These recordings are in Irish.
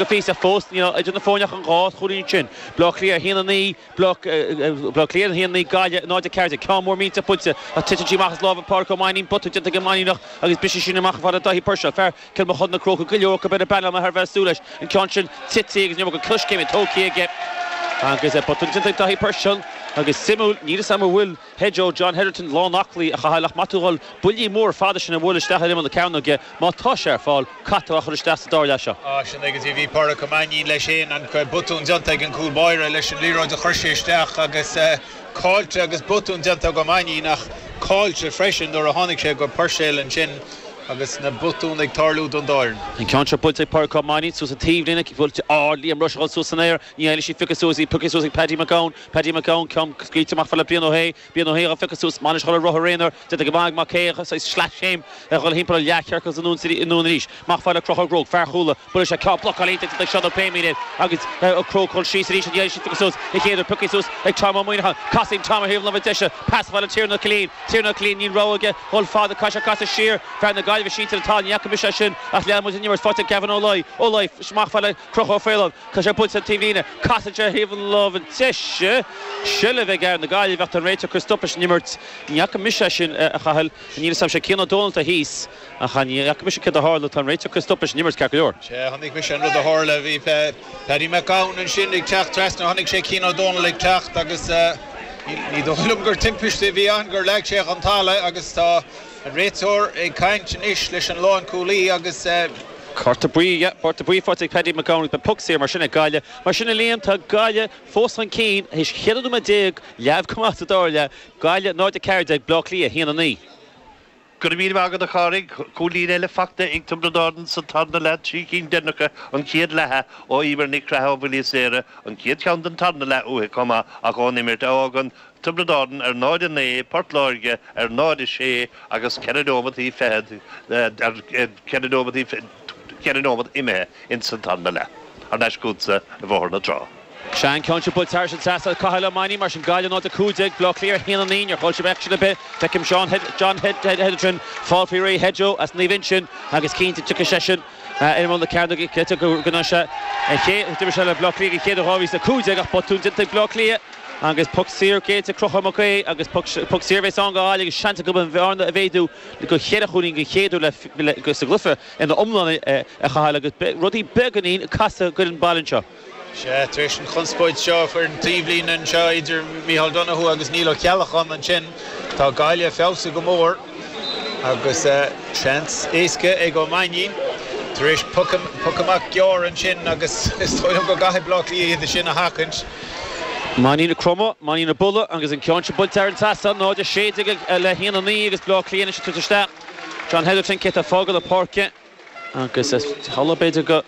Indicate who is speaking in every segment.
Speaker 1: go phíosa fós níl idir na foirne ach an 2 chúilín sin. Bleá Cliath 1, 9, Bleá Cliath 1, 9, Gaillimh 0, 14. Ceann mór millteach buailte ach titeann sí amach as lámha Phádraic Ó Mainnín, botún déanta ag an Mainníneach agus briseann sin amach fad le Daithí Puirséil, fear Cill Mochuda na Crócaigh, go leor acu ar an bpainéal thar a bheith ag súil leis an ceann sin tite agus ní raibh coiscéim tógtha aige agus botún déanta ag Daithí Puirséil agus suimiúil, níl fhios agam an bhfuil Hedjo, John Hetherton, lán aclaí a Chathail ach má tá tú ag dul buillí móra fada sin a bhualadh isteach ar imeall na cearnóige, má tá sé ar fáil, caithfidh tú é a chur isteach sa dara leath seo.
Speaker 2: Á, sin é go dtí bhí Pádraic Ó Mainnín leis féin, an botún déanta ag an gcúl báire leis an liathróid a chuir sé isteach agus caillte agus botún déanta ag Ó Mainnín ach caillte freisin nuair a tháinig sé go Puirséil ansin agus na botúin ag tarlú don dá fhoireann.
Speaker 1: An ceann seo buailte ag Pádraic Ó Mainnín suas an taobhlíne, buailte ard, Liam Rushe ag dul suas san aer, ní fhaigheann sí piocadh suas, í pioctha suas ag Paddy McGowan, Paddy McGowan, ceann scaoilte amach fad le Brian Ó hAodha, Brian Ó hAodha á phiocadh suas, Manas ag dul ar rothar aonair, déanta go maith ag Mac Aodha, saghas sleaschéim ag dul thimpeall an leathchiorcal anonn arís. Amach fad le Conchúr Ó Cróc, fear Chuala, buaileann sé ceann blocáil iontach déanta ag Seán Ó Pléimín air agus Ó Cróc ag dul síos arís an iarraidh sin pioctha suas an chéad uair, pioctha suas ag Tom Ó Muineacháin, casann Tom ar thaobh na láimhe deise, pas fad le Tiarnan Ó Cillín, Tiarnan Ó Cillín, níl rogha aige dhul fada, caithfidh sé casadh siar, fear na Gaillimhe sínte ar an talamh, ní fhaca mise é sin ach lean muid an imirt, faighte ag Gavin Ó Laoi, Ó Laoi, amach fad le Conchúr Ó Faoláin. Tá sé buailte an taobhlíne. Casann sé ar thaobh na láimhe deise. Seilbh ag fhear na Gaillimhe ach tá an réiteoir ag cur stop leis an imirt. Ní fhaca mise é sin, a Chathail. Níl 'fhios a'm sé Cian Ó Dónaill atá thíos ach ní fhaca mise céard a tharla. Tá an réiteoir ag cur stop leis an imirt ceart go leor.
Speaker 2: Sea, chonaic mise an rud a tharla. Bhí Paddy McGowan ansin ag teacht trasna. Chonaic sé Cian Ó Dónaill ag teacht agus ní dóigh liom gur timpiste a bhí ann gur leag sé chun talaimh agus tá an réiteoir ag caint anois leis an lánchúlaí agus.
Speaker 1: Cárta buí, yeah, cárta buí faighte ag Paddy McGowan agus beidh poc saor mar sin ag Gaillimh. Mar sin a Liam, tá Gaillimh fós chun cinn théis 14 nóiméad, leamh go maith sa dara leath. Gaillimh 0-14, Bleá Cliath 1-9.
Speaker 3: Go raibh míle maith agat a Chárthaigh. Cúilín eile fachta ag Tiobraid Árann sa tarna leath, 3 cinn deireanacha an chéad leatha ó Emer Nic Craith ó Bhaile Saoire, an chéad cheann den tarna leath uaithi chomh maith ach ón imirt a fhágann Tiobraid Árann ar 0-9, Port Láirge ar 0-6 agus 4 neomataí fichead, 4 neomataí, 4 neomat imithe ins an tarna leath. Thar n-ais chugatsa i mBóthar na Trá.
Speaker 1: Sea, an ceann seo buailte thairis an trasnán Cathal Ó Mainnín, mar sin Gaillimh 0-15, Bleá Cliath 1-9, níor chaill sibh aicsean ar bith. Feicim Seán John Hetherton fáil faoi réir Hedjo as Naomh Uinseann agus cinnte tiocfaidh seisean ar imeall na cearnóige cinnte go ndéanfaidh sé an chéad, d'imir sé le Bleá Cliath den chéad uair 2015 ach botún déanta ag Bleá Cliath. Agus poc saor géillte ag Conchúr Mac Aodha agus poc saor a bheas ann do Ghaillimh agus seans acu an bhearna a mhéadú go cheithre chúilín den chéad uair sa gcluiche ina iomláine a Chathail agus rudaí beagáinín ag casadh d'fhoireann baile anseo.
Speaker 2: Sea, tar éis an chonspóid seo ar an taobhlíne anseo idir Micheál Donoghue agus Niall Ó Ceallacháin ansin, tá Gaillimh ag feabhsú go mór. Agus seans éasca ag Ó Mainnín tar éis poc amach gearr ansin agus is dóigh liom go gcaithfidh Bleá Cliath iad sin a sheachaint.
Speaker 1: Mainnín ag cromadh, Mainnín ag bualadh agus an ceann seo buailte thar an trasnán, 0-16 le 1-9 agus Bleá Cliath anois ag tabhairt isteach John Hetherton, cé atá ag fágáil na páirce agus is amhlaidh b'fhéidir go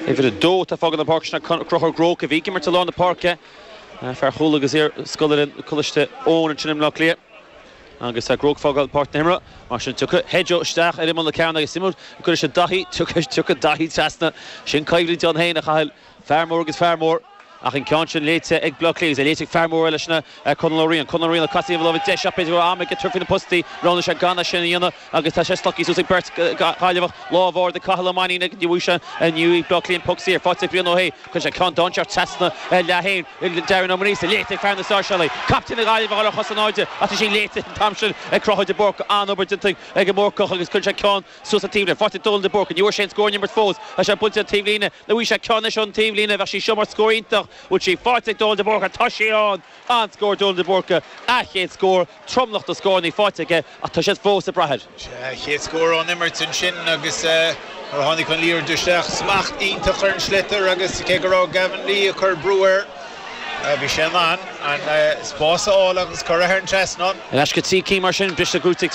Speaker 1: uimhir 2 atá ag fágáil na páirce sin Conchúr Ó Cróc a bhí ag imirt i lár na páirce, fear Chuala agus iar-scoláire Coláiste Eoin ansin i mBleá Cliath. Agus tá Groke ag fágáil páirc na himeartha, mar sin tiocfaidh Hedjo isteach ar imeall na cearnóige agus suimiúil go gcuirfidh sé Daithí, tiocfaidh, tiocfaidh Daithí trasna. Sin coimhlint ann féin a Chathail, fear mór agus fear mór. Ach an ceann sin léite ag Bleá Cliath agus é léite ag fear mór eile sin Conall Ó Riain. Conall Ó Riain ag casadh taobh na láimhe deise ach b'fhéidir go raibh am aige tabhairt faoi na postaí. Roghnaigh sé gan é sin a dhéanamh agus tá sé slogtha suas ag beirt Ghaillimheach. Lámh ard ag Cathal Ó Mainnín ach ní bhfaighidh sé, ní bhfaighidh Bleá Cliath an poc saor. Faighte ag Brian Ó hAodha. Cuireann sé ceann dainséarach trasna ar leath féin. Darren Ó Maonaosa léite ag fear na Sáirséalaigh. Captaen na Gaillimhe ag dul ar chos in airde ach tá sí léite an t-am sin ag Conchúr de Búrca. An-obair déanta ag an mBúrcach agus cuireann sé ceann suas an taobhlíne. Faighte ag Dónal de Búrca. Ní bhfuair sé aon scór ón imirt fós. Tá sé buailte an taobhlíne. Nó bhí sé ceann anois ón taobhlíne. Bheadh sí seo mar scór iontach. Bhfuil sí faighte ag Dónal de Búrca? Tá sí ann! An-scór Dónal de Búrca. A chéad scór. Tromlach de scóranna faighte aige ach tá siad fós ag brath air.
Speaker 2: Sea, a chéad scór ón imirt ansin agus nuair a tháinig an liathróid isteach, smacht iontach ar an sliotar agus cé go raibh Gavin Lee ag cur brú air, bhí sé in ann an spás a fháil agus cur thar an trasnán.
Speaker 1: Ar ais go 3 cinn mar sin, briste gnóthaithe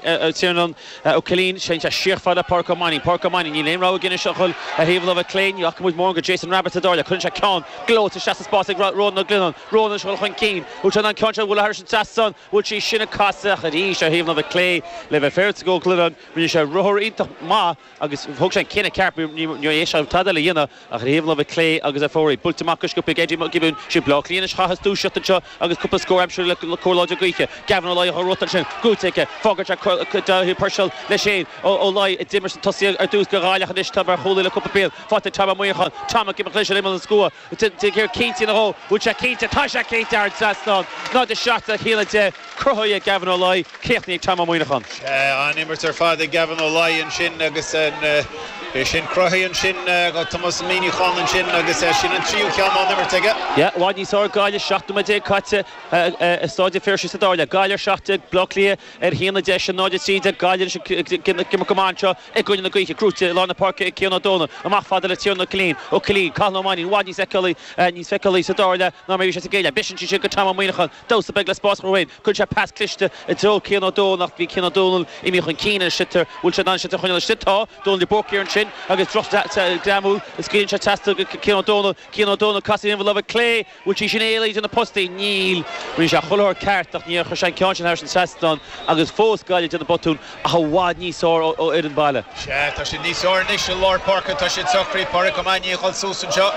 Speaker 1: ag Tiarnán Ó Cillín, séann sé siar fad le Pádraic Ó Mainnín. Pádraic Ó Mainnín, níl aon rogha aige anois ach dhul ar thaobh na láimhe clé, ní fhaca muid mórán de Jason Rabbitte sa dara leath. Cuireann sé ceann gleoite isteach sa spás ag Rónán Ó Glionnáin. Rónán ag dul chun cinn. Bhfuil sé in ann ceann seo a bhualadh thairis an trasnán? Bhfuil sí sin ag casadh ach arís ar thaobh na láimhe clé le bheith féaráilte go Ó Glionnáin. Rinne sé ruathar iontach maith agus thóg sé an cinneadh ceart. Ní raibh sé tada eile a dhéanamh ach ar thaobh na láimhe clé agus ar fóraoil. Buailte amach go sciobtha ag Eddie Mac Giobúin. Sin. Bleá Cliath anois a chaithfeas dúiseacht anseo agus cúpla scór a aimsiú le cóir láidir gaoithe. Gavin Ó Laoi á rota ansin, gnóite aige. Fágann sé Dáithí Purcell leis féin. Ó Laoi a d'imir sna tosaithe ar dtús do Ghaillimh anois tá mar chúlaí le cúpla bliain. Faighte ag Tom Ó Muineacháin. Tom ag imeacht leis ar imeall an slua. Ag cinnte nó dhó. Bhfuil sé cinnte? Tá sé cinnte thar an trasnán. 0-7 le 1-10. Cruthaithe ag Gavin Ó Laoi. Críochnaithe ag Tom Ó Muineacháin.
Speaker 2: Sea, an-imirt ar fad ag Gavin Ó Laoi ansin agus é sin cruthaithe ansin ag Tomás Ó Muineacháin ansin agus sin an tríú ceann ón imirt aige.
Speaker 1: Yeah, i bhfad níos fearr ag Gaillimh, 17 nóiméad caite i Stáid an Phiarsaigh sa dara leath. Gaillimh ar 17, Bleá Cliath ar 1-10, sin 0-13. Gaillimh anois ag imirt go maith anseo i gcoinne na gaoithe. Gnóite i lár na páirce ag Cian Ó Dónaill. Amach fada le Tiarnan Ó Cillín. Ó Cillín, Cathal Ó Mainnín, i bhfad níos feiceálaí, níos feiceálaí sa dara leath ná mar a bhí sé sa gcéad leath. Briseann sé sin go Tom Ó Muineacháin. Damhsa beag le spás a chruthú féin. Cuireann sé pas cliste i dtreo Cian Ó Dónaill ach bhí Cian Ó Dónaill imithe chun cinn ar an sliotar. Bhfuil sé in ann an sliotar a choinneáil istigh? Tá. Dónal de Búrca ansin agus droch-ghreamú. Scaoileann sé trasna go Cian Ó Dónaill. Cian Ó Dónaill, casadh ar an lámh clé. Bhfuil sí sin éalaithe de na postaí? Níl. Rinne sé chuile shórt ceart ach níor chuir sé an ceann sin thar an trasnán agus fós Gaillimh ag déanamh botún ach i bhfad níos fearr ó fhoireann baile.
Speaker 2: Sea, tá siad níos fearr anois i lár páirce, tá siad socraithe. Pádraic Ó Mainnín ag dul suas anseo.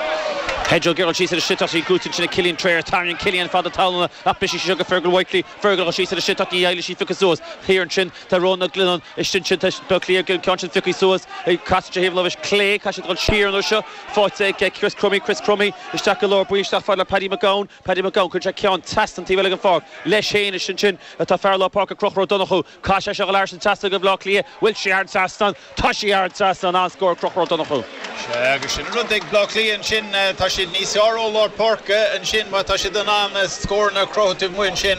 Speaker 1: Pedro ag iarraidh síos ar an sliotar í gnóite ansin ag Cillian Trayers. Tarraingíonn Cillian fad na talúna ach briseann sí seo go Fergal Whitely. Fergal ag dul síos ar an sliotar ní éireoidh sí pioctha suas. Thiar ansin tá Rónán Ó Glionnáin istigh ansin tá Bleá Cliath an ceann sin pioctha suas. Casann sé thaobh láimhe clé, caithfidh siad dul siar an uair seo. Faighte ag Chris Crummey, Chris Crummey isteach i lár baill isteach fad le Paddy McGowan. Paddy McGowan cuireann sé ceann trasna an taobh eile den pháirc leis féin istigh ansin atá fear lár páirce Conchúr Ó Donnchú. Caithfidh sé seo a dhul thar an trasnán go Bhleá Cliath. Bhfuil sí thar an trasnán? Tá sí thar an trasnán. An-scór ag Conchúr Ó Donnchú.
Speaker 2: Sea, agus sin an rud ag Bleá Cliath ansin, tá siad níos fearr ó lár páirce ansin má tá siad in ann scóranna a chruthú taobh amuigh ansin.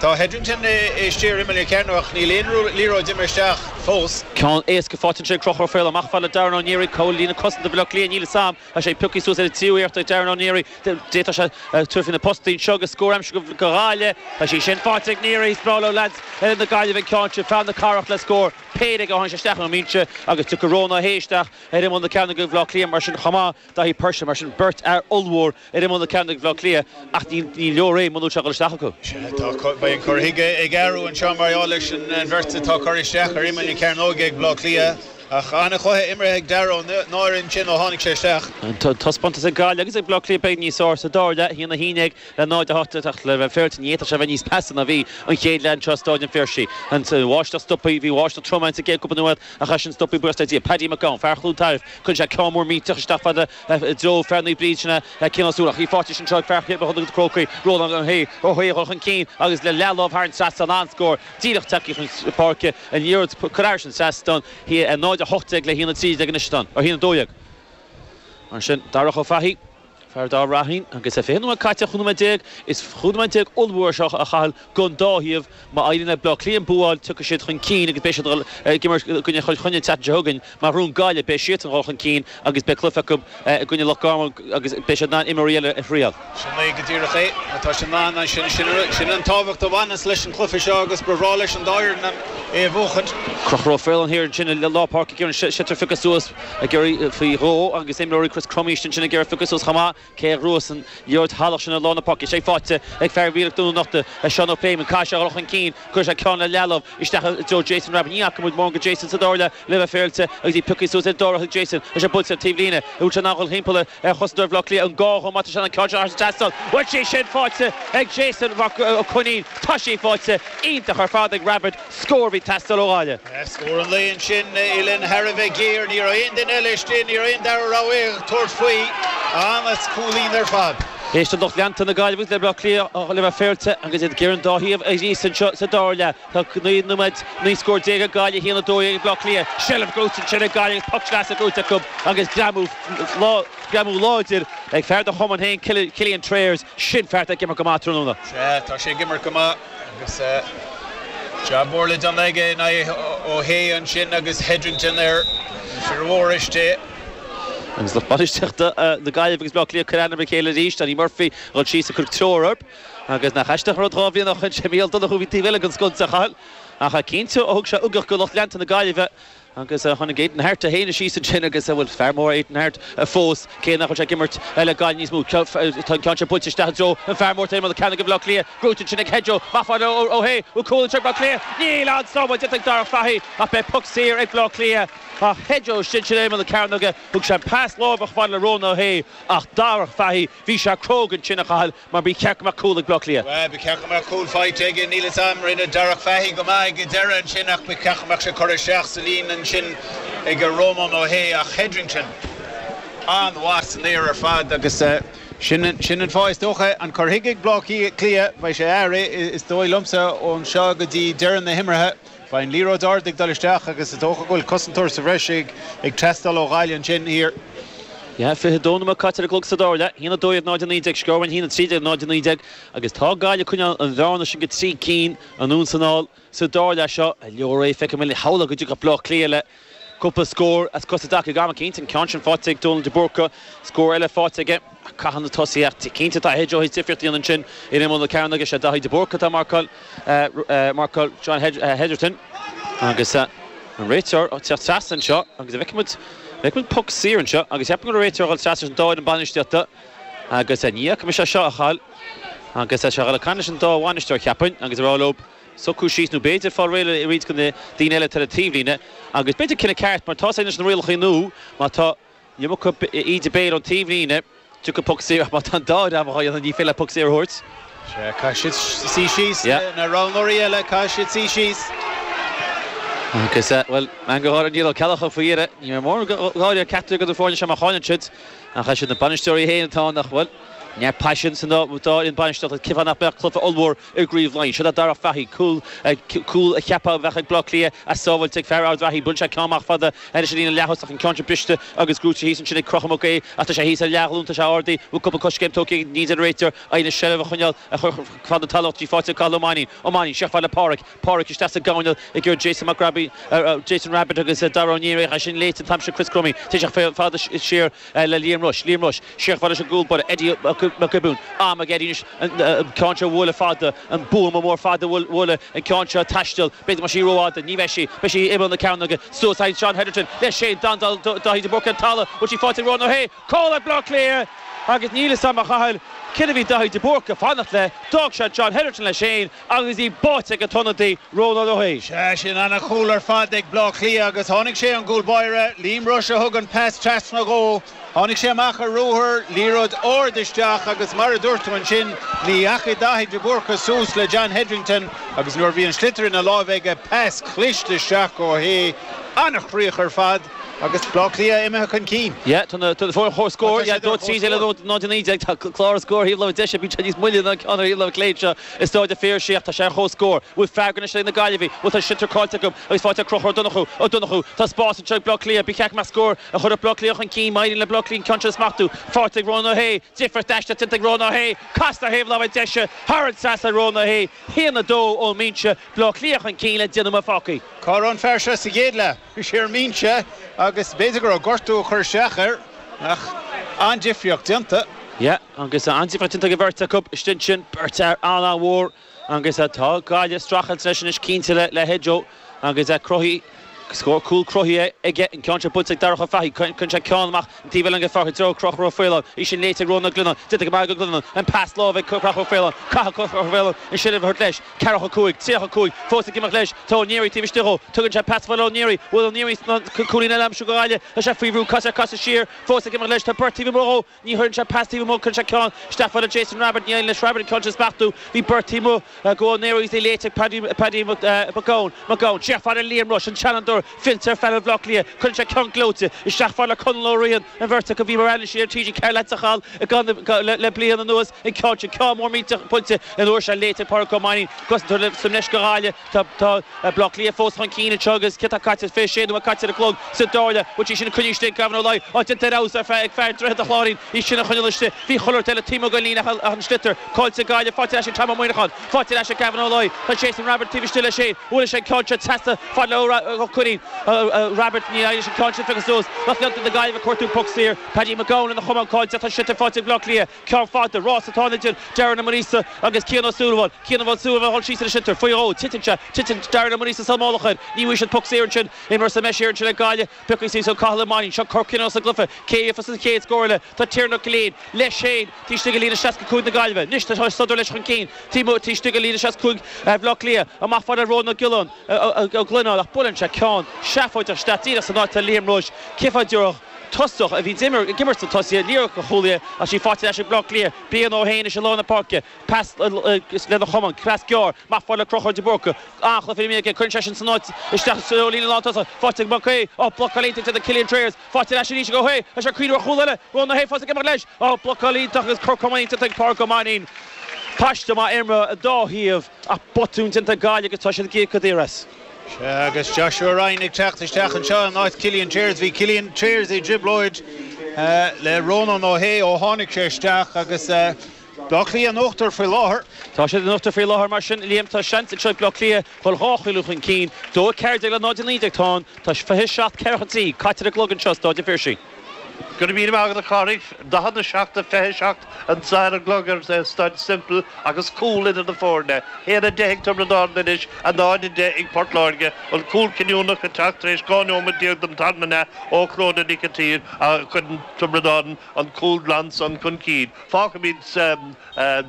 Speaker 2: Tá Hetherington istigh ar imeall na cearnóige ach níl aon liathróid imithe isteach fós.
Speaker 1: Ceann éasca faighte ansin ag Conchúr Ó Faoláin. Amach fad le Darren Ó Neary. Cá bhfuil líne cosanta Bhaile Átha Cliath? Níl fhios a'm. Tá sé pioctha suas ar an tríú iarracht ag Darren Ó Neary. D'fhéadfadh sé tabhairt faoi na postaí anseo agus scór a aimsiú do Ghaillimh. Tá sí sin faighte ag Neary. Is breá leo leaids na Gaillimhe an ceann sin. Fear na Cathrach le scór. Péire aige ó tháinig sé isteach ón mbinse agus tiocfaidh Rónán Ó hAodha isteach ar imeall na cearnóige do Bhaile Átha Cliath mar sin chomh maith. Daithí Purcell mar sin beirt fhear ollmhór ar imeall na cearnóige do Bhaile Átha Cliath ach ní leor é muna bhfuil sé ag dul isteach acu.
Speaker 2: Sea, tá, beidh an cur chuige ag athrú anseo mar gheall leis an bheirt atá curtha isteach ar imeall na cearnóige ag Baile Átha Cliath. Ach an-chluiche imeartha ag Dara Ó Náire ansin ó tháinig sé isteach.
Speaker 1: An taispeántas ag Gaillimh agus ag Bleá Cliath beidh níos fearr sa dara leath, 1-11 le 0-8 ach le bheith féaráilte ní fhéadfadh sé a bheith níos measa ná bhí an chéad leath anseo i Stáid an Phiarsaigh. An bháisteach stoptha, bhí báisteach trom ann sa gcéad cúpla nóiméad ach é sin stoptha buíochas le Dia. Paddy McGowan, fear Chluain Tairbh, cuireann sé ceann mór millteach isteach fada i dtreo fear Naomh Bríd sin é Cian Ó Súilleabháin ach í faighte anseo ag fear Chill na Crócaigh, Rónán Ó hAodha, Ó hAodha ag dul chun cinn agus le leathlámh thar an trasnán an-scór díreach tagtha chun páirce an liathróid curtha thar an trasnán. 0-18 le 1-13 anois atá ann, 1-12. Mar sin, Darach Ó Fathaigh, fear Dá Raithín, agus é 20 nóiméad caite, 15 nóiméad, is 15 nóiméad ollmhór seo a Chathail don dá thaobh. Má éiríonn le Bleá Cliath an bua a fháil, tiocfaidh siad chun cinn agus beidh siad ag imirt i gcoinne Chill Chainnigh an tseachtain seo chugainn. Má ghnóthaíonn Gaillimh, beidh siadsan ag dul chun cinn agus beidh cluiche acu i gcoinne Loch Garman agus beidh siad in ann imreoirí eile a thriail.
Speaker 2: Sin é go díreach é. Tá siad in ann, sin, sin an tábhacht a bhaineas leis an chluiche seo agus ba bhreá leis an dá fhoireann é a bhuachaint.
Speaker 1: Conchúr Ó Faoláin thiar ansin i lár páirce ag iarraidh an sliotar a phiocadh suas ag iarraidh faoi dhó agus imreoirí Chris Crummey ansin ag iarraidh piocadh suas chomh maith. Cé a ghnóthós an liathróid shalach sin i lár na páirce? Is é faighte ag fear Mhíleach Dún an Uchta, Seán Ó Pléimeann. Caithfidh sé a dhul chun cinn. Cuireann sé ceann le leathlámh isteach i dtreo Jason Rabbitte. Ní fhaca muid mórán de Jason sa dara leath le bheith féaráilte agus í pioctha suas ar an dara ag Jason. Tá sé buailte ar taobh líne. An bhfuil sé in ann dhul thimpeall ar chosantóir Bhaile Átha Cliath? An gá dhó má tá sé in ann ceann seo thar an trasnán? Bhfuil sí sin faighte ag Jason Mac Coinín? Tá sí faighte. Iontach ar fad ag Rabbitte. Scór a bhí ag teastáil ó Ghaillimh.
Speaker 2: Scór an lae ansin, Uillinn thar a bheith géar. Ní raibh aon duine eile istigh, ní raibh aon dara rogha ag tabhairt faoi. An-chúilín ar fad.
Speaker 1: Éisteann lucht leanta na Gaillimhe le Bleá Cliath le bheith féaráilte agus iad ag iarraidh an dá thaobh a ghríosadh anseo sa dara leath. Tá 9 nóiméad, 19 scór ag Gaillimh, 1, 12 ag Bleá Cliath. Seilbh gnóite ansin ag Gaillimh agus poc sleasa gnóite acu agus greamú greamú láidir ag fear do chumann féin, Cillian Trayers. Sin fear atá ag imirt go maith tráthnóna.
Speaker 2: Sea, tá sé ag imirt go maith. Agus jab mór le déanamh aige in aghaidh Ó hAodha ansin agus Hetherington ar fir mhóra istigh.
Speaker 1: Agus lucht bainistíochta na Gaillimhe agus Bleá Cliath ag cur aithne ar a chéile arís. Danny Murphy ag dul síos ag cur treoir orthu. Agus nach aisteach an rud 2 bhliain ó shin sé Mícheál Donoghue a bhí taobh eile den sconsa a Chathail. Ach cinnte ó thug sé ugach go lucht leanta na Gaillimhe. Agus tháinig Aidan Harte féin síos ansin agus, bhuel, fear mór Aidan Harte fós, cé nach bhfuil sé ag imirt le Gaillimh níos mó. Tá an ceann seo buailte isteach i dtreo an fear mór Éamonn Ó Cearnaigh ag Baile Átha Cliath. Gnóite ansin ag Hedgehoe. Maith fada ó Ó Sé. Bhfuil cúl anseo ag Baile Átha Cliath? Níl! An-sábháil déanta ag Darragh Fahy ach beidh poc saor ag Baile Átha Cliath. Ach Hedgehoe istigh ansin Éamonn Ó Cearnaigh. Thug sé an pas láimhe chomh fada le Rónán Ó Sé ach Darragh Fahy, bhí sé cróga ansin a Chathail. Mar ba cheart go mbeadh cúl ag Bleá Cliath.
Speaker 2: Bhuel, ba cheart go mbeadh cúl faighte aige, níl 'fhios a'm, rinne Darragh Fahy go maith ag an deireadh ansin ach ba cheart go mbeadh sé curtha isteach sa líne ansin ag Rónán Ó hAodha ach Hetherington an-mhaith san aer ar fad agus sin sin an fáth is dócha an cur chuige ag Bleá Cliath, beidh sé athraithe is dóigh liomsa ón seo go dtí deireadh na himeartha. Beidh an liathróid ard ag dul isteach agus is dócha go bhfuil cosantóir sa bhreis ag teastáil ó Ghaillimh ansin thiar.
Speaker 1: Yeah, 22 nóiméad caite ar an gclog sa dara leath, 1, 12, 0, 19, scór 1, 13, 0, 19, agus tá Gaillimh ag coinneáil an bhearna sin go 3 cinn anonn is anall sa dara leath seo. Leor é, feicim uile shamhlaigh go dtiocfadh Bleá Cliath le cúpla scór as cos i dtaca ag am eicínt, an ceann sin faighte ag Dónal de Búrca, scór eile faighte aige. Caithfidh na tosaithe ach cinnte tá Hedgehoe théis difríocht a dhéanamh ansin ar imeall na cearnóige, sé Daithí de Búrca atá ag marcáil marcáil John Hetherton agus an réiteoir ag teacht trasna anseo agus an bhfeicfidh muid bhfeicfidh muid poc saor anseo agus cheapfainn go raibh réiteoir ag dul trasna leis an dá fhoireann bainistíochta agus ní fhaca mise seo a Chathail agus tá sé ag dul ag caint leis an dá bhainisteoir cheapfainn agus ag rá leo socrú síos nó b'fhéidir fáil réidh le roinnt de na daoine eile atá ar an taobhlíne agus b'fhéidir cinneadh ceart mar tá sé leis na rialacha nua má tá iomarca íde béil ón taobhlíne tiocfaidh poc saor ach má tá an dá dhream á dhéanamh ní féidir leat poc saor a thabhairt.
Speaker 2: Sea, caithfidh siad suí síos, na roghnóirí eile, caithfidh siad suí síos.
Speaker 1: Agus, bhuel, meangadh gáire Niall Ó Ceallacha faoi dheireadh. Ní raibh mórán gáire ar ceachtar de na foirne seo mar cháineann siad ach is iad na bainisteoirí féin atá ann ach, bhuel, neart paisin san dá fhoireann bainistíochta. Cén fáth nach mbeadh cluiche ollmhór i gCraobh Laighean. Seo le Darragh Fahy, cúl, cúl a cheapfá a bheadh ag Bleá Cliath ach sábháilte ag fear Ard Rathaí. Buaileann sé ceann amach fada anois ar líne leath-thosach, an ceann sin briste agus gnóite thíos ansin ag Conchúr Mac Aodha ach tá sé thíos ar leathghlúin, tá sé ardaithe, bhfuil cúpla coiscéim tógtha ag ní deir an réiteoir, éiríonn leis seilbh a choinneáil a chur fada talamh dtí faighte ag Cathal Ó Mainnín. Ó Mainnín, siar fada le Páraic, Páraic isteach sa gcoirnéal ag iarraidh Jason Mac Robbie, Jason Rabbitte agus Dara Ó Niaraigh, é sin léite an t-am sin Chris Crummey, téann sé fada siar le Liam Rushe, Liam Rushe, siar fada leis an gcúl báire, Eddie Mac Giobúin, am ag Eddie anois an ceann seo a bhualadh fada, an buama mór fada a bhualadh, an ceann seo ag taisteal, b'fhéidir go mbeidh sí rófhada, ní bheidh sí, beidh sí imeall na cearnóige, suas aghaidh Seán Hetherton leis féin, Dandal Daithí de Búrca ar an talamh, bhfuil sí faighte ag Rónán Ó hAodha, cúl ag Bleá Cliath! Agus níl fhios a'm a Chathail céard a bhí Daithí de Búrca ag fanacht le, d'fhág sé John Hetherton leis féin agus í báite ag an t-ionadaí, Rónán Ó hAodha.
Speaker 2: Sea, sin ana-chúl ar fad ag Bleá Cliath agus tháinig sé ón gcúl báire, Liam Rushe a thug an pas trasna dhó. Tháinig sé amach ar ruathar, liathróid ard isteach agus mar a dúirt tú ansin, ní dheachaigh Daithí de Búrca suas le John Hetrington agus nuair a bhí an sliotar ina láimh aige, pas cliste isteach go Ó hAodha. An-chríoch ar fad agus Bleá Cliath imithe chun cinn.
Speaker 1: Yeah, tá na tá foirne comhscór, yeah, 2 13 le 0 19, tá clár an scóir thaobh láimhe deise, bíonn sé níos moille ná an ceann ar thaobh láimhe clé anseo i Staid an Phiarsaigh ach tá sé ar comhscór. Bhfuil freagra anois ag na Gaillimhigh? Bhuel tá sliotar caillte acu agus faighte ag Conchúr Ó Donnchú. Ó Donnchú, tá spás anseo ag Bleá Cliath, ba cheart go mbeadh scór a chuirfeadh Bleá Cliath chun cinn, má éiríonn le Bleá Cliath an ceann seo a smachtú. Faighte ag Rónán Ó hAodha, difríocht aisteach déanta ag Rónán Ó hAodha, casta ar thaobh láimhe deise, thar an trasnán Rónán Ó hAodha, 1-2 ón mbinse, Bleá Cliath chun cinn le 10 nóiméad fágtha.
Speaker 2: Cá raibh an fear seo sa gcéad leath? Bhí sé ar an mbinse agus b'fhéidir go raibh gortú ag cur isteach air ach an-difríocht déanta.
Speaker 1: Yeah, agus an-difríocht déanta ag an bheirt acu istigh ansin, beirt fhear an-mhór agus tá Gaillimh ag streachailt leis anois cinnte le Hedgehoe agus cruthaithe, scór cúl cruthaithe aige, an ceann seo buailte ag Darragh Ó Fathaigh, cuireann sé ceann amach an taobh eile den pháirc i dtreo Conchúr Ó Faoláin, í sin léite ag Rónán Ó Glionnáin, déanta go maith ag Ó Glionnáin, an pas láimhe ag Conchúr Ó Faoláin, caithfidh Conchúr Ó Faoláin an seilbh a thabhairt leis, ceathracha 5, 35, fós ag imeacht leis, tá Ó Neary taobh istigh dhó, tugann sé pas fada le Ó Neary, bhfuil Ó Neary in ann cúilín eile a aimsiú do Ghaillimh, tá sé faoi bhrú, caithfidh sé casadh siar, fós ag imeacht leis, tá beirt taobh amuigh dhó, Ní chuireann sé pas taobh amuigh, cuireann sé ceann isteach fada Jason Rabbitte, ní éiríonn leis Rabbitte an ceann sin a smachtú. Bhí beirt taobh amuigh go Ó Neary agus í léite ag Paddy Paddy McGowan. McGowan, siar fada Liam Rushe, an seanfhondúir fillte ar phainéal Bhaile Átha Cliath. Cuireann sé ceann gleoite isteach fada le Conall Ó Riain, an bheirt acu bhí mar anailísí ar TG4 leat a Chathail le bliain anuas. An ceann sin, ceann mór millteach buailte an uair seo léite ag Pádraig Ó Mainnín, cosantóir sa mbreis do Ghaillimh. Tá Baile Átha Cliath fós chun cinn anseo agus céard atá caite? 26 nóiméad caite ar an gclog sa dara leath. Bhfuil sí sin coinnithe istigh ag Gavin Ó Laoi? Á, déanta ar fheabhas ar feadh ag fear Droichead an Chláirín í sin a choinneáil istigh. Bhí chuile shórt eile taobh amuigh den líne ach an sliotar caillte ag Gaillimh. Faighte ar ais ag Tom Ó Muineacháin. Faighte ar ais ag Gavin Ó Laoi. Tá Jason Rabbitte taobh istigh leis féin. Bhuail sé an ceann seo trasna fad le Ó Cuirrín. Mainnín, Rabbitte, ní éiríonn leis an ceann sin piocadh suas. Lucht leanta na Gaillimhe ag cuartú poc saor. Paddy McGowan lena chamán caillte ach tá sliotar faighte ag Bleá Cliath. Ceann fada, rás atá ann idir Darren Ó Maonaosa agus Cian Ó Súilleabháin. Cian Ó Súilleabháin ag dul síos ar an sliotar faoi dhó. Titeann sé, titeann Darren Ó Maonaosa sa mullach air. Ní bhfaighidh siad poc saor ansin. Imreoir sa mbreis ansin ag Gaillimh. Pioctha suas ag Cathal Ó Mainnín. Seo cor cinniúnach sa gcluiche. Cé a gheofas an chéad scór eile? Tá Tiarnan Ó Killeen leis féin taobh istigh de líne 65 na Gaillimhe. Anois tá sodar leis chun cinn taobh istigh de líne 65 Bhaile Átha Cliath. Amach fada le Rónán Ó Giolláin, Ó Glionáin ach buaileann sé ceann seafóideach isteach díreach san áit atá Liam Rushe. Cén fáth a dtabharfadh tosach a bhí ag imirt sna tosaithe liathróid do chúlaithe ach sí faighte ar ais ag Baile Átha Cliath. Brian Ó hÉin anois i lár na páirce. Pas lena chamán, pas gearr, amach fada le Conchúr de Búrca. An-chluiche imeartha aige, cuireann sé sin san áit isteach sa líne lántosach. Faighte ag Mac Aodh. Ó, blocáil iontach déanta ag Killian Trayers. Faighte ar ais arís ag Ó hAodh. Tá sé ag cuimhneamh ar chúl eile. Rónán Ó hAodh fós ag imeacht leis. Ó, blocáil iontach agus cor camáin iontach ag Pádraig Ó Mainnín. Paiste maith imeartha an dá thaobh ach botún déanta ag Gaillimh agus tá siad ag íoc go daor as.
Speaker 2: Sea, agus Joshua Ryan ag teacht isteach anseo in áit Killian Trayers. Bhí Killian Trayers i dtrioblóid le Rónán Ó hAodh ó tháinig sé isteach agus Bleá Cliath in uachtar faoi láthair.
Speaker 1: Tá siad in uachtar faoi láthair mar sin, Liam. Tá seans anseo ag Bleá Cliath dhul dhá chúilín chun cinn. 2-14 le 0-19 atá ann. Tá 27 ceathracha 3 caite ar an gclog anseo i Stáid an Phiarsaigh.
Speaker 3: Go raibh míle maith agat a Chárthaigh. 47-27 anseo ar an gclog ar Staid Semple agus cúl idir na foirne. 1-10 ag Tiobraid Árann anois, 0-10 ag Port Láirge. An cúl cinniúnach ag teacht tar éis 12 nóiméad den tarna leath ó Chlóda Nic an tSaoir a chuireann Tiobraid Árann an cúl glan san chun cinn. Fágfaimid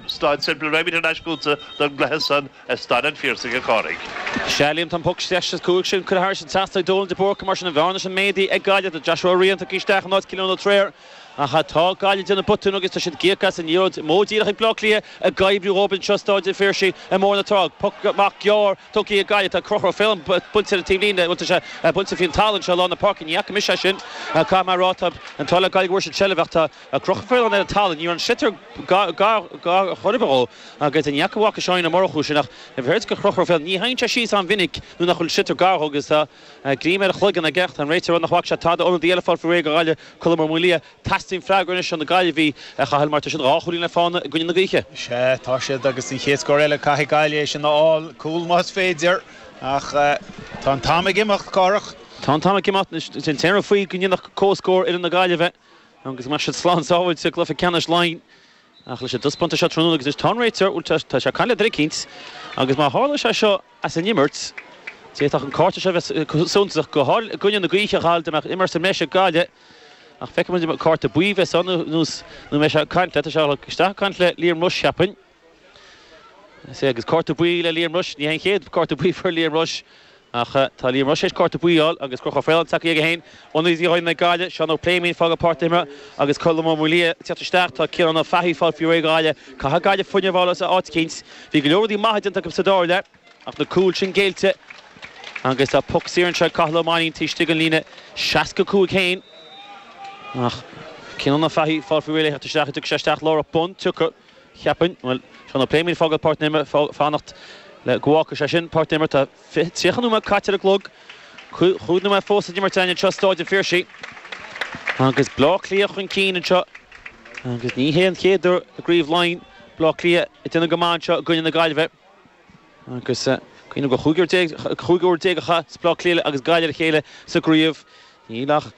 Speaker 3: Staid Semple, raghaimid thar n-ais chugatsa don gcluiche san i Staid an Phiarsaigh, a Chárthaigh.
Speaker 1: Sea, Liam, tá an poc 65 sin curtha thairis an trasnán ag Dónal de Búrca, mar sin an bhearna sin méadaithe ag Gaillimh. Tá Joshua Ryan tugtha isteach in áit Cillian Ó Treoir ach tá Gaillimh ag déanamh botún agus tá siad ag íoc as an liathróid amú díreach ag Bleá Cliath ag oibriú dhóibh anseo i Stáid an Phiarsaigh i mBóthar na Trá. Poc amach gearr tugtha ag Gaillimh. Tá Conchúr Ó Faoláin buailte ar an taobhlíne, bhuel tá sé buailte faoin talamh anseo i lár na páirce. Ní fhaca mise é sin. Caithfidh mé a rá, tá an t-ádh le Gaillimh go bhfuair siad seilbh ach tá Conchúr Ó Faoláin ar an talamh. Ní raibh an sliotar gar chor ar bith dhó agus ní fhaca bhfaca Seáinín Ó Murchú sin ach bhí go Conchúr Ó Faoláin. Ní théann sé síos an-mhinic nuair nach bhfuil sliotar gar dhó agus tá greim ar a chloigeann aige ach tá an réiteoir ag rá nach bhfaca sé tada. Ionadaí eile fáil faoi réir do Ghaillimh, Colm Ó Maolaodha. Teastaíonn freagra anois ó na Gaillimhigh, a Chathail, mar tá siad dhá chúilín le fána i gcoinne na gaoithe.
Speaker 2: Sea, tá siad agus an chéad scór eile caithfidh Gaillimh é sin a fháil, cúl más féidir, ach tá an t-am ag imeacht, Cárthach.
Speaker 1: Tá an t-am ag imeacht. An t-aon rud faoi go ndéanfadh comhscór fhoireann na Gaillimhe agus go mbeadh siad slán sábháilte i gcluiche ceannais Laighean. Ach leis an dtaispeántas seo tráthnóna agus anois tá an réiteoir, bhuel tá sé ag caint le duine eicínt agus má tharla sé seo as an imirt, d'fhéadfadh an cárta seo a bheith suntasach, go háirithe i gcoinne na gaoithe, a Chathail, dá mbeadh imirt sa mbreis ag Gaillimh. Ach feicfidh muid an cárta buí a bheas ann nó an mbeidh sé ag caint le, tá sé isteach ag caint le Liam Rushe, cheapfainn. Is é agus cárta buí le Liam Rushe, ní hé an chéad cárta buí a fuair Liam Rushe ach tá Liam Rushe théis cárta buí a fháil agus Conchúr Ó Faoláin tagtha aige féin. Ionadaí d'fhoireann na Gaillimhe, Seán Ó Pléimín ag fágáil páirc na himeartha agus Colm Ó Maolaodha ag teacht isteach. Tá Ciarán Ó Fathaigh ag fáil faoi réir do Ghaillimh. Caithfidh Gaillimh fuinneamh a fháil as áit eicínt. Bhí go leor rudaí maithe déanta acu sa dara leath ach na cúil sin géillte agus tá poc saor anseo ag Cathal Ó Mainnín taobh istigh den líne 65 féin. Ach Ciarán Ó Fathaigh ag fáil faoi réir le theacht isteach. Tiocfaidh sé isteach láithreach bonn. Tiocfaidh. Cheapfainn. Bhuel, Seán Ó Pléimín ag fágáil páirc na himeartha, fanacht le go bhfágfaidh sé sin páirc na himeartha. Tá 30 nóiméad caite ar an gclog, chúig nóiméad fós san imirt againn anseo i Stáid an Phiarsaigh. Agus Bleá Cliath chun cinn anseo. Agus ní hé an chéad uair i gCraobh Laighean Bleá Cliath ag déanamh go maith anseo i gcoinne na Gaillimhe. Agus cuimhnigh gur 15 uair a chas Bleá Cliath agus Gaillimh ar a chéile sa gcraobh. Níl ach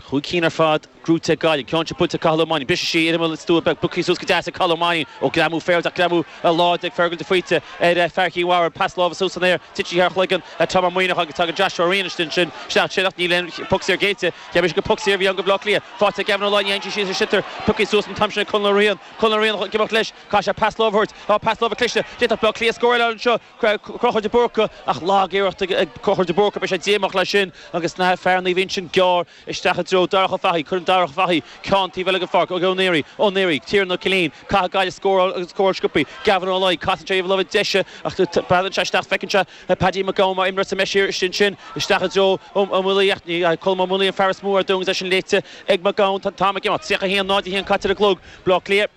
Speaker 1: chúig cinn ar fad gnóthaithe ag Gaillimh. Ceann seo buailte ag Cathal Ó Mainnín. Briseann sí ar imeall an stua beag. Pioctha suas go deas ag Cathal Ó Mainnín. Ó greamú féir ach greamú láidir ag Fergal de Faoite ar fear Chinn Mhara. Pas láimhe suas san aer. Titeann sí thar chloigeann Tom Ó Maoineach agus tagann Joshua Ryan ansin isteach ansin ach níl aon poc saor géillte. Cheap mise gur poc saor a bhí ann do Bhleá Cliath. Faighte ag Gavin Ó Laighin. Ní théann sí síos ar sliotar. Pioctha suas an t-am sin ag Conal Ó Riain. Conal Ó Riain ag imeacht leis. Caithfidh sé pas láimhe a thabhairt. Tá pas láimhe cliste. D'fhéadfadh Bleá Cliath scór eile anseo. Conchúr de Búrca ach lag-iarracht ag Conchúr de Búrca. Beidh sé díomách leis sin agus na fear Naomh Uinseann gearr isteach i dtreo Darach Ó Fathaigh. Cuireann Darach Ó Fathaigh ceann taobh eile den pháirc. Ó Néaraí. Ó Néaraí. Tiernan Ó Killeen. Caithfidh Gaillimh scóráil agus scóráil sciobtha. Gavin Ó Laoi. Casann sé taobh láimhe deise ach breathnaíonn sé isteach. Feiceann sé Paddy McGowan mar imreoir sa mbreis istigh ansin. Isteach i dtreo Ó Maolaodha ach ní Colm Ó Maolaodha an fear is mó ar domhan agus é sin léite ag McGowan. Tá an t-am ag imeacht. 31 0 1 caite ar an gclog. Bleá Cliath.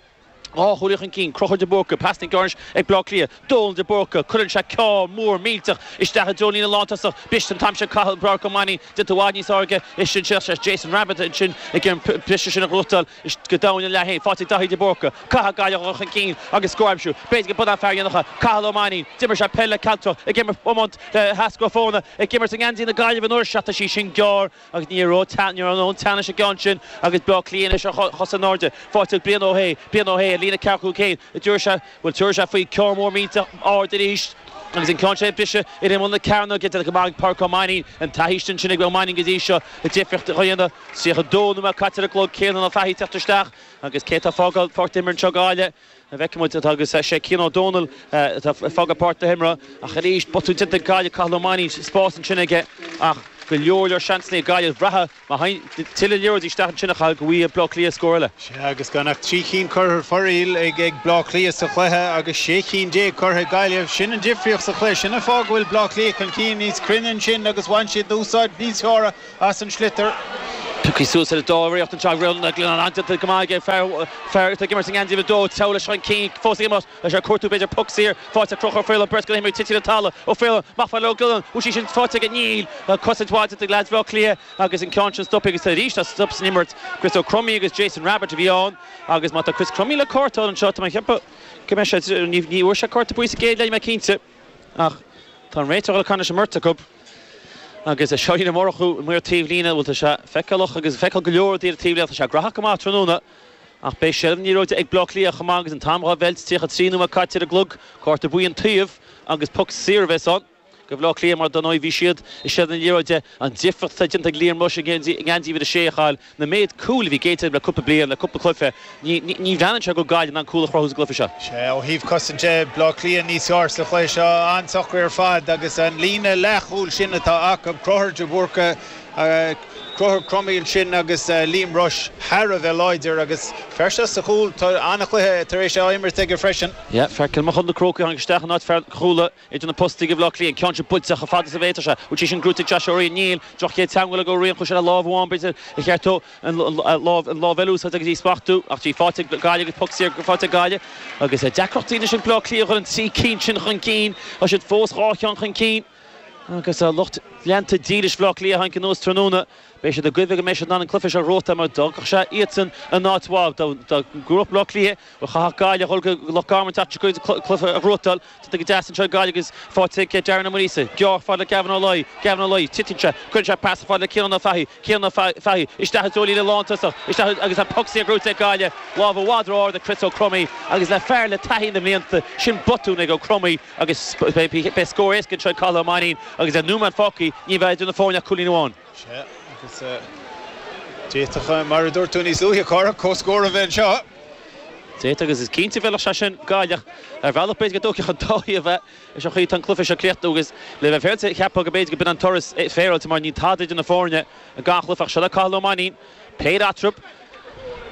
Speaker 1: 2 chúilín chun cinn, Conchúr de Búrca, pas níos gearr anois ag Bleá Cliath, Dónal de Búrca, cuireann sé ceann mór millteach isteach i dtreo líne lántosach, briste an t-am sin Cathal Pádraig Ó Mainnín, déanta i bhfad níos airde ansin sé Jason Rabbitte ansin ag an briseadh sin a ghnóthachtáil go domhain an leath fhéin, faighte ag Daithí de Búrca, caithfidh Gaillimh a dhul chun cinn agus scór a aimsiú, b'fhéidir go b'in an fear a dhéanfadh é, Cathal Ó Mainnín, d'imir sé peil le Cealtrach, ag imirt iomáint le hEascar Ó Fóna, ag imirt i ngeansaí na Gaillimhe an uair seo, tá sí sin gearr. Agus ní raibh ní raibh aon teannas sa gceann sin agus Bleá Cliath anois ar chosa in airde. Faighte ag Brian Ó hAodha, Brian Ó hAodha, líne ceathracha cúig chéim, a dtabharfaidh sé, bhuel tabharfaidh sé faoi ceann mór millteach ard arís agus an ceann sin ag briseadh ar imeall na cearnóige déanta go maith ag Pádraic Ó Mainnín, an taithí sin sin ag Ó Mainnín go dtí seo, an difríocht a dhéanamh. 32 nóiméad caite ar an gclog, Ciarán Ó Fathaigh ag teacht isteach agus cé atá ag fágáil páirc na himeartha anseo Gaillimh? An bhfeicfidh muid atá agus sé Cian Ó Dónaill atá ag fágáil páirc na himeartha ach arís botún déanta ag Gaillimh, Cathal Ó Mainnín, spás ansin aige ach go leor leor seansanna ag Gaillimh bhraithfeá má théann tuilleadh liathróidí isteach ansin a Chathail go bhfaighidh Bleá Cliath scór eile.
Speaker 2: Sea agus gan ach 3 chinn curtha ar fóraoil ag Bleá Cliath sa chluiche agus 16 cinn curtha ag Gaillimh. Sin an difríocht sa chluiche. Sin an fáth go bhfuil Bleá Cliath chun cinn níos cruinne ansin agus bhain siad úsáid níos fearr as an sliotar.
Speaker 1: Pioctha suas ar an dá iarracht anseo ag Rónán Glennon. An-déanta go maith aige fear fear atá ag imirt sa ngeansaí uimhir 2. Treabhadh leis chun cinn fós ag imirt leis ar cuartú b'fhéidir poc saor faighte ag Conchúr Ó Faoláin beirt de na himreoirí tite ar an talamh. Ó Faoláin amach fad le Ó Giolláin. Bhfuil sí sin faighte aige? Níl. Cosaint mhaith déanta ag leaids Bhaile Átha Cliath agus an ceann sin stoptha agus arís tá stop san imirt. Chris Ó Cromaí agus Jason Rabbitte a bhí ann agus má tá Chris Crummey le cárta anseo tá mé ag ceapadh go mbeidh sé ní bhfuair sé cárta buí sa gcéad leath níl mé cinnte. Ach tá an réiteoir ag dul ag caint leis an mbeirt acu agus Seáinín Ó Murchú amuigh ar taobh líne, bhuel tá sé feiceálach agus feiceáil go leor rudaí ar taobh líne, tá sé graitheach go maith tráthnóna ach beidh seilbh na liathróide ag Bleá Cliath chomh maith agus an t-am dhá mheilt, 33 nóiméad caite ar an gclog, cárta buí an taobh agus poc saor a bheas ann do Bhleá Cliath mar dar ndóigh bhí siad i seilbh na liathróide. An difríocht atá déanta ag Liam Rushe i ngeansaí uimhir a sé a Chathail, Na méid cúil a bhí géillte le cúpla bliain, le cúpla cluiche, ní bhreathnaíonn sé go bhfuil Gaillimh in ann cúl a chruthú sa gcluiche seo.
Speaker 2: Sea, ó thaobh cosaint de, Bleá Cliath níos fearr sa chluiche seo, an-socair ar fad agus an líne leathchúil sin atá acu, Conchúr de Búrca, Conchúr Crummey ansin agus Liam Rushe thar a bheith láidir agus fear seo sa chúl, tá an-chluiche tar éis á imirt aige freisin.
Speaker 1: Yeah, fear Cill Mochuda na Crócaigh a tháinig isteach in áit fear Chuala. Idir na postaí ag Bleá Cliath, an ceann sin buailte chomh fada is a bhféadfadh sé. Bhfuil sí sin gnóite ag Josh Ó Riain? Níl. Droch chéad teagmháil ag Ó Riain. Chuaigh sé le lámh amháin, b'fhéidir, ba cheart dó an lámh an lámh eile a úsáid agus í a smachtú. Ach í faighte ag Gaillimh agus poc saor faighte ag Gaillimh. Agus deacrachtaí anois ag Bleá Cliath a dhul an 3 cinn sin chun cinn. Tá siad fós 2 cheann chun cinn. Agus lucht leanta dílis Bhleá Cliath a tháinig anuas tráthnóna, beidh siad ag guí go mbeidh siad in ann an cluiche seo a ghnóthachtáil mar d'fhágfadh sé iadsan in áit mhaith dá ngnóthódh Bleá Cliath. Bhuel, chaithfeadh Gaillimh a dhul go Loch Garman an tseachtain seo chugainn cluiche a ghnóthachtáil. Tugtha go deas anseo ag Gaillimh agus faighte ag Darren Ó Muiríosa. Gearr fad le Gavin Ó Laoi. Gavin Ó Laoi, titeann sé. Cuireann sé pas fad le Ciarán Ó Fathaigh. Ciarán Ó Fathaigh isteach i dtreo líne lántosach. Isteach agus an poc saor gnóite ag Gaillimh. Lámh i bhfad ró-ard ag Chris Ó Cromaí agus le fear le taithí na mblianta, sin botún ag Ó Cromaí agus beidh scór éasca anseo ag Cathal Ó Mainnín agus le nóiméad fágtha ní bheidh idir na foirne ach cúilín amháin.
Speaker 2: Sea, agus d'fhéadfadh, mar a dúirt tú níos luaithe, a Chárthaigh, comhscór a bheith anseo.
Speaker 1: D'fhéadfadh, agus is cinnte a bhfeilfeadh sé sin Gaillimh. Ar bhealach, b'fhéidir go dtógfadh an dá thaobh é. Leis an chaoi atá an cluiche seo críochnaithe agus le bheith féaráilte, cheapfá go b'fhéidir go b'in an turas féaráilte mar níl tada idir na foirne i ngach cluiche ach seo le Cathal Ó Mainnín. Péire eatarthu.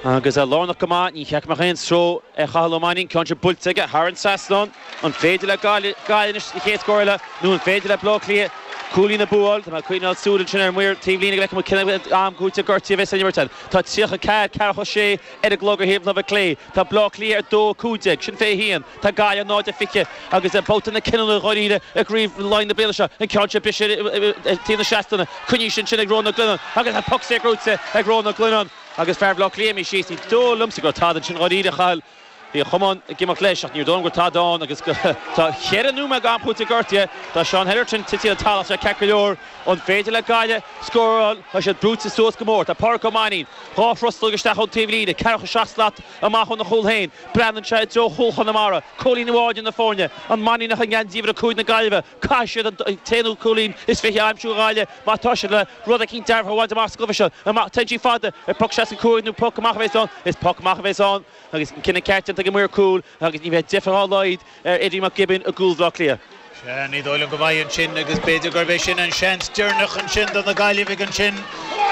Speaker 1: Agus é lárnach go maith, ní cheart go mbeadh aon stró ar Chathal Ó Mainnín, ceann sin buailte aige thar an trasnán. An féidir le Gaillimh anois an chéad scór eile nó an féidir le Baile Átha Cliath cúilín a bhualadh? Tá mé ag coinneáil súil ansin ar an maor taobh líne go bhfeicfidh muid cén am cúiteamh gortaithe a bheas san imirt ann. Tá 34, ceathracha 6 ar an gclog ar thaobh na láimhe clé. Tá Baile Átha Cliath ar 2, 15, sin fé haon. Tá Gaillimh 0, 20 agus babhta na cinniúna dháiríre i gCraobh Laighean na bliana seo. An ceann seo briseadh ar taobh na seastánna. Coinnithe ansin ag Rónán Glennon agus an poc saor gnóite ag Rónán Glennon agus fear Bhaile Átha Cliath imithe síos. Ní dóigh liomsa go raibh tada ansin dháiríre a Chathail. Bhí an chamán ag imeacht leis ach níor dóigh liom go raibh tada ann agus tá cheithre nóiméad d'am cúitimh gortaithe. Tá Seán Hetherton tite ar an talamh sé ceart go leor. An féidir le Gaillimh scóráil? Tá siad brúite suas go mór. Tá Pádraic Ó Mainnín 2 throslóg isteach ón taobh líne, ceathracha seacht slat amach óna chúl féin. Breathnaíonn sé i dtreo chúl Chonamara. Cúilín amháin idir na foirne. An Mainníneach i ngeansaí uimhir 5 na Gaillimhe. Caithfidh siad an t-aonú cúilín is 20 a aimsiú a Ghaillimh má tá siad le rud eicínt dearfach a bhaint amach sa gcluiche seo. Amach, téann sí fada ar poc 65 nó poc amach a bheas ann. Is poc amach a bheas ann agus an cinneadh ceart déanta ag an maor cúil agus ní bheidh deifir dá laghad ar Eddie McGibbon i gcúl Bhaile Átha Cliath.
Speaker 2: Sea, ní dóigh liom go mbeidh ansin agus b'fhéidir gurb é sin an seans deireanach ansin do na Gaillimhigh ansin.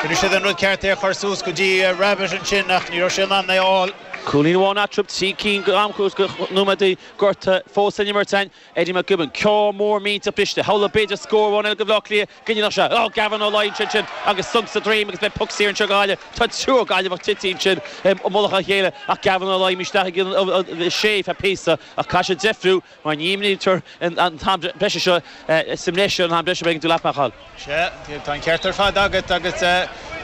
Speaker 2: Rinne siad an rud ceart é a chur suas go dtí Rabbitte ansin ach ní raibh sé in ann é a fháil.
Speaker 1: Cúilín amháin eatarthu, 3 cinn de nóiméadaí gorta fós le n-imirt againn. Eddie McGibbon, ceann mór millteach briste. Shamhlófá b'fhéidir scór amháin eile do Bhaile Átha Cliath go ndéanfadh sé. Ó, Gavin Ó Laighin ansin agus sonc sa droim agus beidh poc saor anseo do Ghaillimh. Tá triúr Gaillimheach tite ansin i mullach a chéile ach Gavin Ó Laighin isteach ag an sé feadh píosa ach caithfidh sé deifriú mar ní imrítear an t-am breise seo sa mbreis ar an am breise b'éigean dul leat, a Mhichíl.
Speaker 2: Sea, tá an ceart ar fad agat agus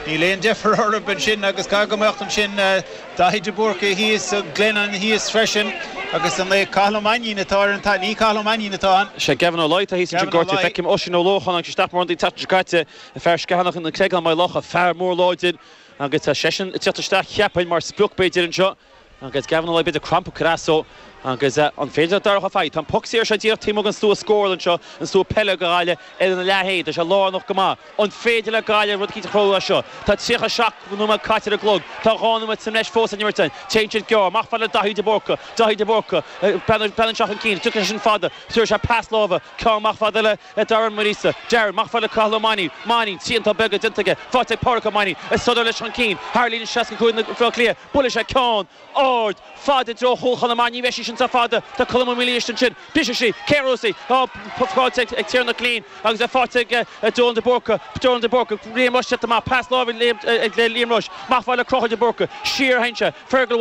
Speaker 2: níl aon deifir orthu ansin agus caithfidh go mbeadh ansin Daithí de Búrca thíos, Glennon thíos freisin agus an é Cathal Ó Mainnín atá ar an taobh, ní Cathal Ó Mainnín atá ann.
Speaker 1: Sea, Gavin Ó Laoi atá thíos ansin gortaithe. Feicim Oisín Ó Lócháin agus isteach mar ionadaí an tseachtain seo caite, fear Sceathanach na Creagán Maigh Locha, fear mór láidir agus tá seisean ag teacht isteach cheapfainn mar sprioc b'fhéidir anseo. Agus Gavin Ó Laoi b'fhéidir crampa ag cur as dó agus an féidir le Darach Ó Fathaigh? Tá an poc saor seo díreach taobh amuigh den stua scórála anseo, an stua peile do Ghaillimh ar an leathéad. Tá sé lárnach go maith. An féidir le Gaillimh rud eicínt a chruthú as seo? Tá 37 nóiméad caite ar an gclog. Tá 2 nóiméad sa mbreis fós le n-imirt againn. Téann siad gearr. Amach fad le Daithí de Búrca. Daithí de Búrca. Breathnaíonn sé chun cinn. Tiocfaidh sé sin fada. Tabharfaidh sé pas láimhe. Ceann amach fada le Darren Muiríosa. Darren, amach fad le Cathal Ó Mainnín. Mainnín, triantán beaga déanta aige. Faighte ag Pádraic Ó Mainnín. Ag sodar leis chun cinn. Thar líne 65 na Bhaile Átha Cliath. Buailfidh sé ceann ard fada i dtreo chúl Chonamara. Ní bheidh sí sin sách fada. Tá Colm Ó Maoilíosa ansin. Brisfidh sí. Cé a bhuafaidh í? Tá faighte ag Tiernan Killeen agus é faighte ag Donal de Búrca. Donal de Búrca. Liam Rushe tite amach. Pas láimhe ag Liam Rushe. Amach fad le Conchúr de Búrca. Siar a théann sé. Fergal.